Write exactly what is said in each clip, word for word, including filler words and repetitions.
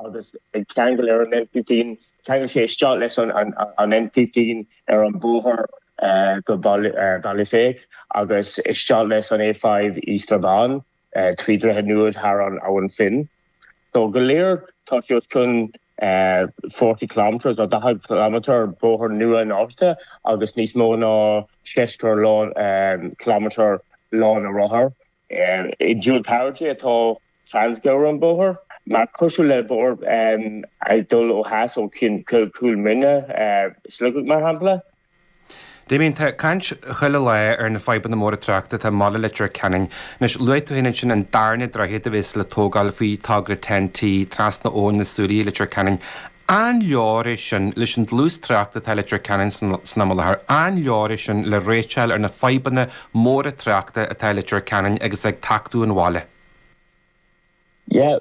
Agus ag ceangal ar an N fifteen, ceangal sé isteach leis an, an, an N fifteen ar an bóthar uh, go Baile Féich agus isteach leis an A five i Strabane uh, trí droichead nua thar an Abhainn Finn. So go léir tá sé chun uh, forty kilometers ó daichead kilometer bóthar nua náiste agus níos mó ná seachtó lán um, kilometer lána rothar. Uh, I dual carriageway atá Trans-Gabhar an bóthar. Mar cosúil le bóthar um, ag dul ó theas ó Cúil Mine uh, Sligeach, mar shampla. Damien, tá caint chuile lá ar na fadhbanna móra tráchta atá i mbaile Leitir Ceanainn. Anois, luaigh tú féin ansin an darna droichead a bheas le tógáil faoi togra T N T trasna Abhainn na Súilí Leitir Ceanainn. An leor é sin leis an dlús tráchta atá Leitir Ceanainn san am i láthair? An leor é sin le réiteach ar na fadhbanna móra tráchta atá Leitir Ceanainn agus ag tachtadh an bhaile? Yeah,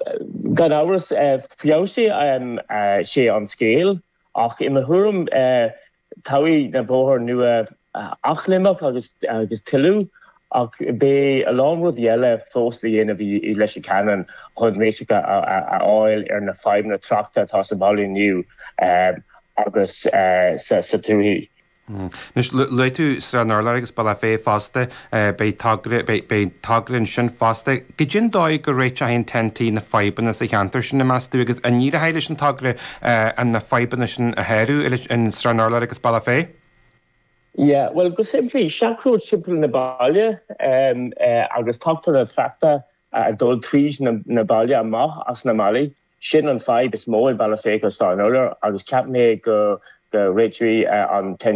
gan amhras uh, feabhsóidh um, uh, sé an scéal, ach i mo thuairim uh, tabharfaidh na bóthar nua athléimneach agus agus tuilleadh, ach beidh a lán rudaí eile fós le dhéanamh i Leitir Ceanainn chun réiteach a fháil ar na fadhbanna tráchta atá sa bhaile inniu agus sa sa tuath. Anois, luaigh tú Srath an Urláir agus Bealach Féich fosta, beidh togra beidh togra ansin fosta. Cad é an dóigh go réiteoidh an T N T na fadhbanna sa cheantar sin, meas tú, agus an éireoidh leis an togra an na fadhbanna sin a shárú in Srath an Urláir agus Bealach Féich? Yeah, well, go simplí, seachród timpeall na baile um, uh, agus tachtar na tráchta uh, dul tríd na, na baile amach as na mbaile. Sin an fadhb is mó i Bealach Féich agus Srath an Urláir, agus ceap mé go go réiteoidh uh, an